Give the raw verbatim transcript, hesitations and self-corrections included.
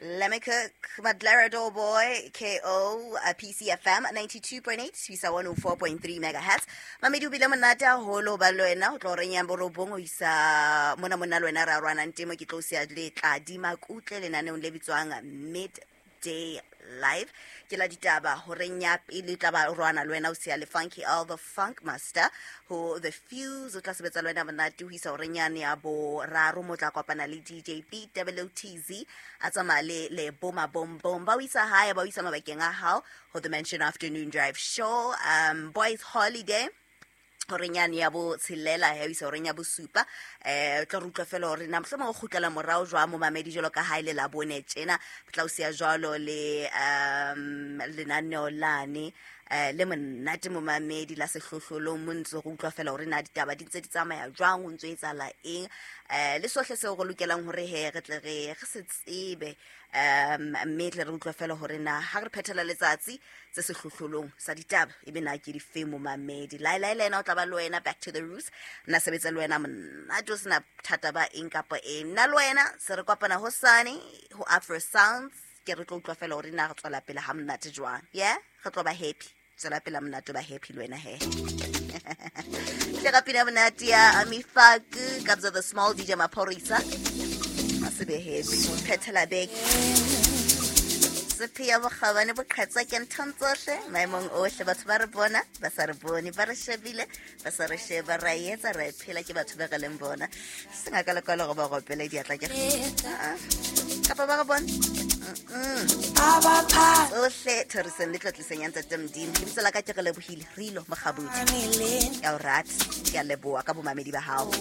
Let me cook Madlera Boy K O uh, P C F M ninety-two point eight isa one oh four point three megahertz. Mamedi o bile monate haholo ba le wena o tlo reng ya borobong o isa mona mona le wena ra rwana ntemo ke tlo sia le tladi makutle lenaneong le bitswang Midday Live. Ke la ditaba horeng ya pele tla ba rwana le wena o sia le Funky All the Funk Master ho The Fuse o tla sebetsa le wena monate ho isa horeng yane ya boraro mo tla kopana le D J B W T Z a tsamaya le le Boma Bom Bom ba o isa hae ba o isa mabakeng a hao ho The Mansion Afternoon Drive Show. um Boys Holiday horeng yane ya bo tshelela ya isa horeng ya bosupa eh tla re utlwa fela hore na mohlomong o kgutlela morao jwang momamedi jwalo ka ha ile la bone tjena tla o siya jwalo le um lenaneo lane eh le monate momamedi la sehlohlolong mo ntse re utlwa fela hore na ditaba di ntse di tsamaya jwang o ntse etsahala eng eh le sohle seo re lokelang hore he re tle re re se tsebe um mme tle re utlwa fela hore na ha re phethela letsatsi tse sehlohlolong sa ditaba ebe na ke di fe momamedi lai lai le ena o tla ba le wena back to the roots nna sebetsa le wena monate o sena thata ba eng kapa eng nna le wena se re kopana hosane ho Afro Sounds ke re tlo utlwa fela hore na re tswela pele ha monate jwang yeah re tlo ba happy tswela pele monate ba happy le wena he le ka pina monate ya Amifaku Kabza the Small D J Maphorisa a se be happy phethela beke Sephia bokgabane bo qhetsa ke nthong tsohle maemong ohle batho ba re bona ba sa re bone ba re shebile ba sa re sheba ra etsa ra phela ke batho ba re leng bona sengaka le kwalo go ba gopela diatla ke kapa ba re bone tsohle thoriseng le tlotliseng ya Ntate Modimo lebitso la ka ke re lebohile re ilo mokgabudi ya o rata ke a leboha ka bomamedi ba hao.